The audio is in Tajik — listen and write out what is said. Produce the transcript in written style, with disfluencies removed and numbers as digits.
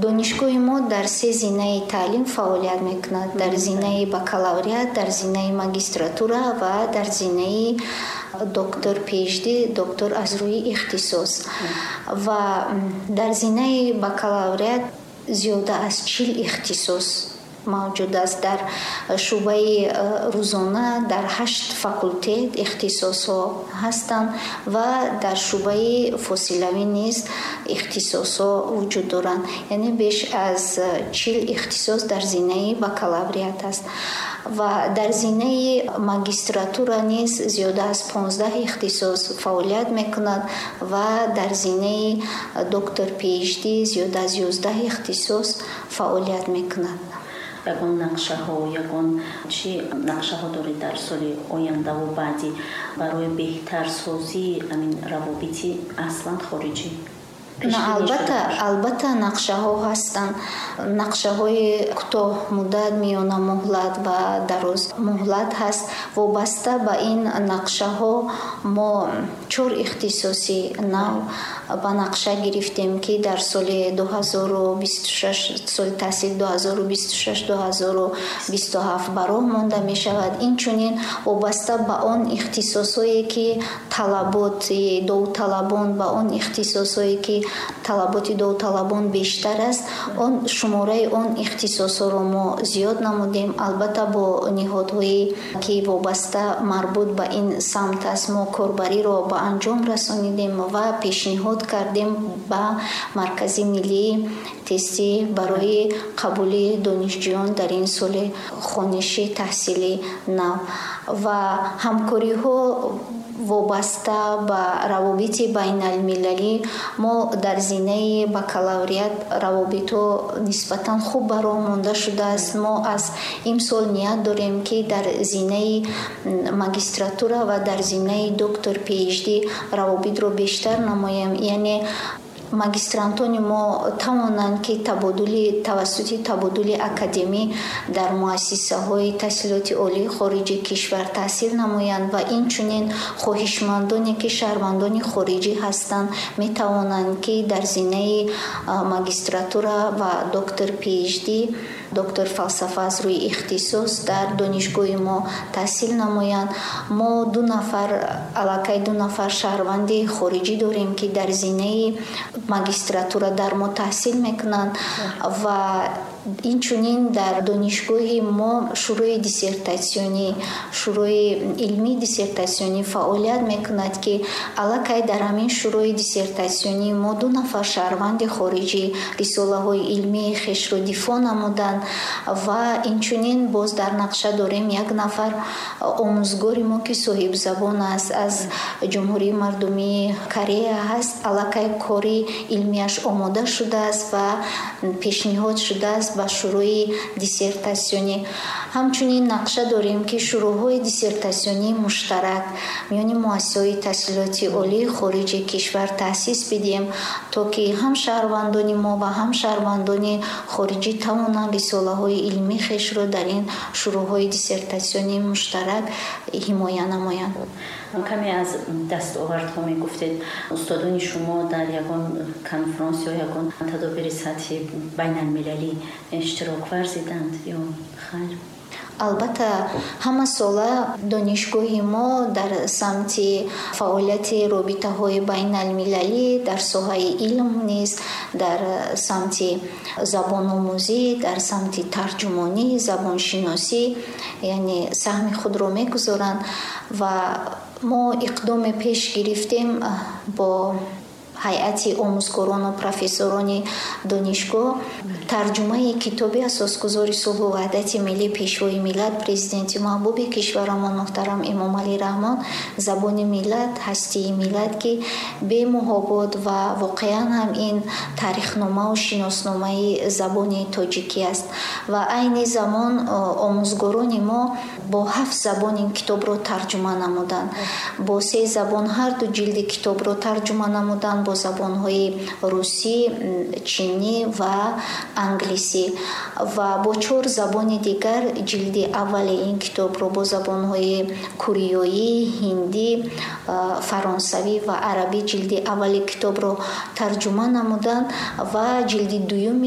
Донишгоҳи мо дар се зинаи таълим фаъолият мекунад: дар зинаи бакалавриат, дар зинаи магистратура ва дар зинаи доктор PhD, доктор аз рӯи ихтисос. Ва дар зинаи бакалавриат зиёда аз 40 ихтисос мавҷуд аст. Дар шӯъбаи рӯзона дар 8 факултет ихтисосҳо ҳастанд ва дар шӯъбаи фосилавӣ низ ихтисосҳо вуҷуд доранд. Яъне беш аз 40 ихтисос дар зинаи бакалавриат аст. Ва дар зинаи магистратура низ зиёда аз 15 ихтисос фаъолият мекунад ва дар зинаи доктор PhD зиёда аз 11 ихтисос фаъолият мекунад. Ягон нақшаҳо, ягон чӣ нақшаҳо доред дар соли ояндаву баъдӣ барои беҳтарсозии ҳамин равобити аслан хориҷӣ? Албатта, нақшаҳо ҳастанд. Нақшаҳои кӯтоҳмуддат, миёнамуҳлат ва дарозмуҳлат ҳаст. Вобаста ба ин нақшаҳо мо чор ихтисоси нав ба нақша гирифтем, ки дар соли 2026, соли таҳсил 2026-2027 ба роҳ монда мешавад. Инчунин вобаста ба он ихтисосҳое, ки талаботи довталабон, ба он ихтисосҳое, ки талаботи довталабон бештар аст, он шумораи он ихтисосҳоро мо зиёд намудем. Албатта, бо ниҳодҳое, ки вобаста марбут ба ин самт аст, мо корбариро ба анҷом расонидем ва пешниҳод кардем ба Маркази миллии тестӣ барои қабули донишҷӯён дар ин соли хониши таҳсили нав. Ва ҳамкориҳо вобаста ба равобити байналмилалӣ, мо дар зинаи бакалавриат равобитҳо нисбатан хуб ба роҳ монда шудааст. Мо аз имсол ният дорем, ки дар зинаи магистратура ва дар зинаи доктор PhD равобитро бештар намоем, яъне магистрантони мо тавонанд, ки тавассути табодули академӣ дар муассисаҳои таҳсилоти олии хориҷи кишвар таҳсил намоянд ва инчунин хоҳишмандоне, ки шаҳрвандони хориҷӣ ҳастанд, метавонанд, ки дар зинаи магистратура ва доктор PhD, доктор фалсафа аз рӯи ихтисос дар донишгоҳи мо таҳсил намоянд. Мо ду нафар, аллакай ду нафар шаҳрванди хориҷӣ дорем, ки дар зинаи магистратура дар мо таҳсил мекунанд. Ва инчунин дар донишгоҳи мо шӯрои диссертатсионӣ, шӯрои илмии диссертатсионӣ фаъолият мекунад, ки аллакай дар ҳамин шӯрои диссертатсионӣ мо ду нафар шаҳрванди хориҷӣ рисолаҳои илмии хешро дифоъ намуданд. Ва инчунин боз дар нақша дорем як нафар омӯзгори мо, ки соҳибзабон аст, аз Ҷумҳурии Мардумии Корея ҳаст, аллакай кори илмияш омода шудааст ва пешниҳод шудааст ба шӯрои диссертатсионӣ. Ҳамчунин нақша дорем, ки шӯроҳои диссертатсионии муштарак миёни муассисаҳои таҳсилоти олии хориҷи кишвар таъсис бидиҳем, то ки ҳам шаҳрвандони мо ва ҳам шаҳрвандони хориҷӣ тавонанд рисолаҳои илмии хешро дар ин шӯроҳои диссертатсионии муштарак ҳимоя намоянд. Каме аз дастовардҳо мегуфтед. Устодони шумо дар ягон конфронс ё ягон тадобири сатҳи байналмилалӣ иштирок варзиданд ё хайр? Албатта, ҳама сола донишгоҳи мо дар самти фаъолияти робитаҳои байналмилалӣ, дар соҳаи илм низ, дар самти забономӯзӣ, дар самти тарҷумонӣ, забоншиносӣ, яъне саҳми худро мегузоранд. Ва мо иқдоме пеш гирифтем бо ҳайати омӯзгорону профессорони донишгоҳ: тарҷумаи китоби Асосгузори сулҳу ваҳдати миллӣ, Пешвои миллат, Президенти маҳбуби кишварамон муҳтарам Эмомалӣ Раҳмон «Забони миллат, ҳастии миллат», ки бемуҳобот ва воқеан ҳам ин таърихномаву шиносномаи забони тоҷикӣ аст. Ва айни замон омӯзгорони мо бо ҳафт забон ин китобро тарҷума намуданд, бо се забон ҳарду ҷилди китобро тарҷума намуданд, бо забонҳои русӣ, чинӣ ва англисӣ ва бо чор забони дигар ҷилди аввали ин китобро, бо забонҳои кореёӣ, ҳиндӣ, фаронсавӣ ва арабӣ ҷилди аввали китобро тарҷума намуданд ва ҷилди дуюми